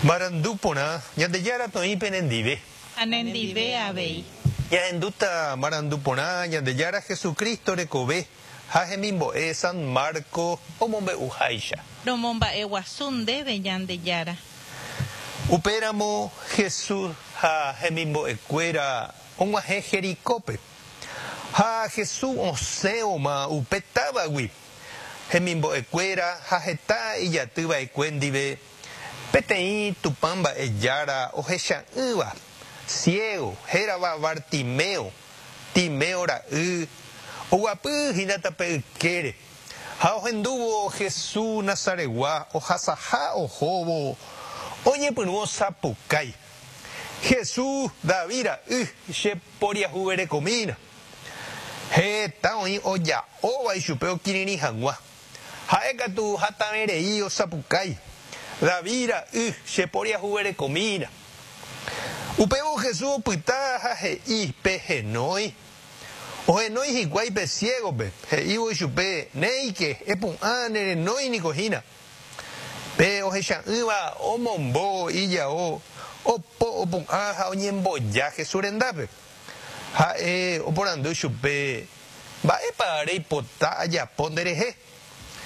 Marandu porã, Ñandejára toĩ penendive. Ha nendive avei. Ñahendúta marandu porã Ñandejára Jesucristo rekove ha hemimbo'e San Marcos omombe'uháicha. Romomba'eguasu ndéve Ñandejára. Upéramo Jesús ha hemimbo'ekuéra og̃uahẽ Jericópe. Ha Jesús osẽvoma upe távagui, hemimbo'ekuéra ha heta ijaty va'ekue ndive, peteĩ Tupã mba'e jára ohecha'ỹva, ciego, hérava Bartimeo, Timeo ra'y, oguapy hína tape ykére. Ha ohendúvo Jesús Nazaretgua ohasaha ohóvo, oñepyrũ osapukái, Jesús, David ra'y, che poriahuverekomína. Heta oĩ oja'óva ichupe okirirĩ hag̃ua. Ha'e katu hatãve rei osapukái, David ra'y, che poriahuverekomína. Upévo Jesús opyta ha he'i, Pehenói. Ohenói hikuái pe ciégope, he'ívo ichupe, Néike, epu'ã, nerenói niko hína. Pe ohecha'ỹva omombo ijao, opo opu'ã ha oñemboja Jesús rendápe. Ha'e oporandu chupe, Mba'épa reipota ajapo nderehe?